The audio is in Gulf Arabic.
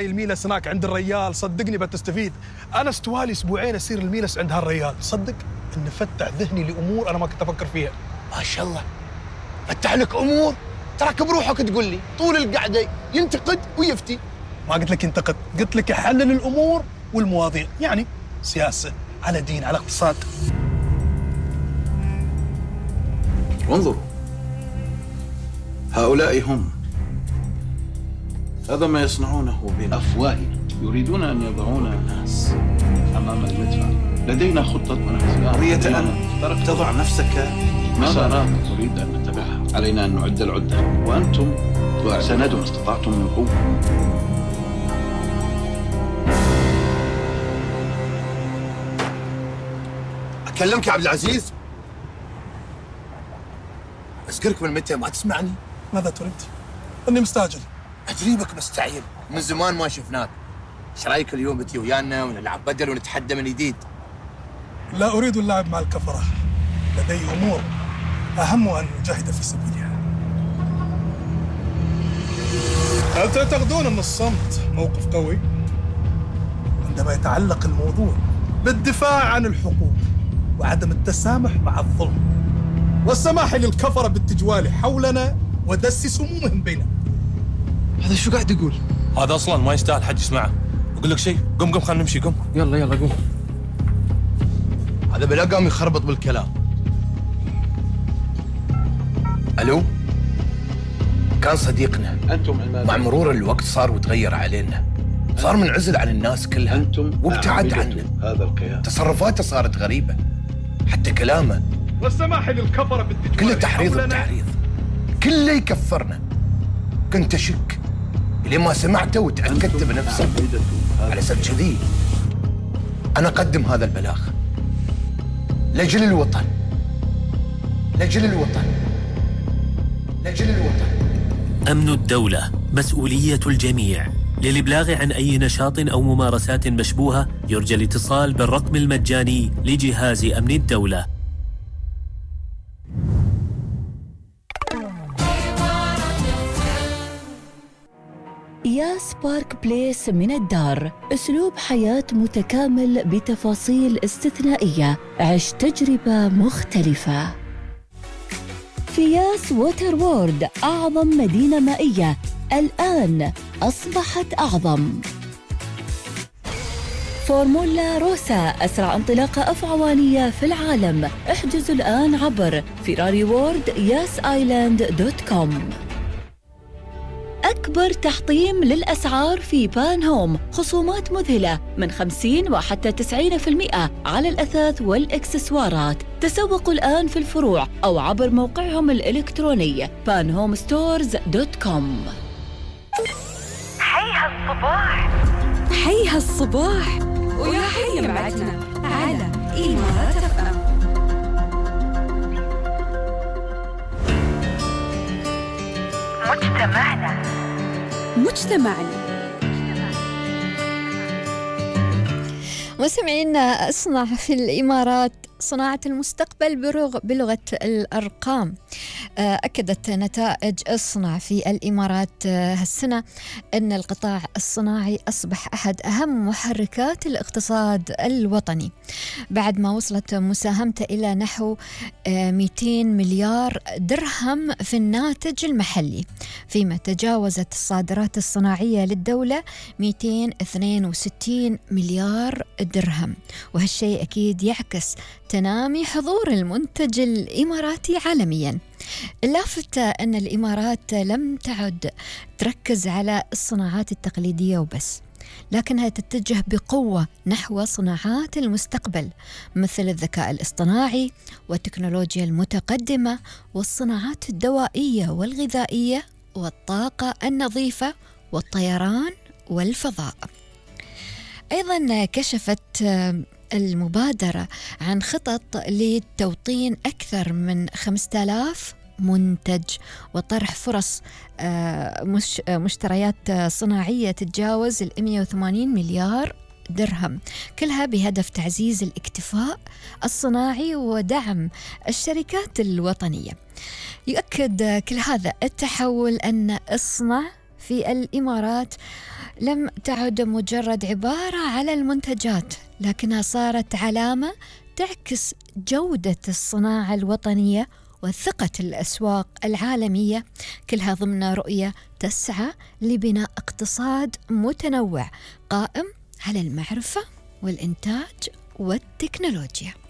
الميلس هناك عند الريال، صدقني بتستفيد. انا استوالي اسبوعين اسير الميلس عند هالريال، صدق انه فتح ذهني لامور انا ما كنت افكر فيها. ما شاء الله، فتح لك امور. تراك بروحك تقول لي طول القعده ينتقد ويفتي. ما قلت لك ينتقد، قلت لك يحلل الامور والمواضيع، يعني سياسه على دين على اقتصاد. وانظروا، هؤلاء هم. هذا ما يصنعونه بأفواههم، يريدون أن يضعون الناس أمام المدفع. لدينا خطة ونحن قضية أن تضع نفسك مسارات نريد أن نتبعها. علينا أن نعد العدة، وأنتم سندوا ما استطعتم من قوة. أكلمك يا عبد العزيز؟ أذكرك من متى ما تسمعني؟ ماذا تريد؟ اني مستعجل. أجريبك مستعجل، من زمان ما شفناك. ايش رايك اليوم بتي ويانا ونلعب بدل ونتحدى من جديد؟ لا اريد اللعب مع الكفره، لدي امور اهم ان اجاهد في سبيلها. هل تعتقدون ان الصمت موقف قوي؟ عندما يتعلق الموضوع بالدفاع عن الحقوق وعدم التسامح مع الظلم والسماح للكفره بالتجوال حولنا ودس سمومهم بيننا. هذا شو قاعد يقول؟ هذا اصلا ما يستاهل حد يسمعه. اقول لك شيء، قم خلينا نمشي، قم. يلا قوم. هذا بلا قام يخربط بالكلام. الو، كان صديقنا. أنتم مع مرور الوقت صار وتغير علينا، صار منعزل عن الناس كلها. أنتم وابتعد عنا. هذا القيام. تصرفاته صارت غريبة، حتى كلامه والسماح للكفره بالتجوال كله تحريض حولنا. بتحريض، كله يكفرنا. كنت أشك لين ما سمعته وتأكدت بنفسي. على سبب كذي أنا أقدم هذا البلاغ لأجل الوطن، لأجل الوطن، لأجل الوطن. أمن الدولة مسؤولية الجميع. للإبلاغ عن أي نشاط أو ممارسات مشبوهة يرجى الاتصال بالرقم المجاني لجهاز أمن الدولة. ياس بارك بليس من الدار، أسلوب حياة متكامل بتفاصيل استثنائية. عش تجربة مختلفة في ياس ووتر وورد، أعظم مدينة مائية الآن أصبحت أعظم. فورمولا روسا، أسرع انطلاقة أفعوانية في العالم. احجزوا الآن عبر ferrariworld.yasaisland.com. أكبر تحطيم للأسعار في بان هوم، خصومات مذهلة من 50 وحتى 90% على الأثاث والإكسسوارات. تسوقوا الآن في الفروع أو عبر موقعهم الإلكتروني panhomestores.com. حي هالصباح، حي هالصباح، ويا حي معتنا على إمارات FM. مجتمعنا. مستمعينا، اصنع في الإمارات صناعة المستقبل بلغة الأرقام. أكدت نتائج اصنع في الإمارات هالسنة أن القطاع الصناعي أصبح أحد أهم محركات الاقتصاد الوطني، بعد ما وصلت مساهمته إلى نحو 200 مليار درهم في الناتج المحلي، فيما تجاوزت الصادرات الصناعية للدولة 262 مليار درهم. وهالشيء أكيد يعكس تنامي حضور المنتج الإماراتي عالمياً. اللافت أن الإمارات لم تعد تركز على الصناعات التقليدية وبس، لكنها تتجه بقوة نحو صناعات المستقبل مثل الذكاء الاصطناعي والتكنولوجيا المتقدمة والصناعات الدوائية والغذائية والطاقة النظيفة والطيران والفضاء. أيضاً كشفت المبادرة عن خطط لتوطين أكثر من 5000 منتج وطرح فرص مشتريات صناعية تتجاوز 180 مليار درهم، كلها بهدف تعزيز الاكتفاء الصناعي ودعم الشركات الوطنية. يؤكد كل هذا التحول أن اصنع في الإمارات لم تعد مجرد عبارة على المنتجات، لكنها صارت علامة تعكس جودة الصناعة الوطنية وثقة الأسواق العالمية، كلها ضمن رؤية تسعى لبناء اقتصاد متنوع قائم على المعرفة والإنتاج والتكنولوجيا.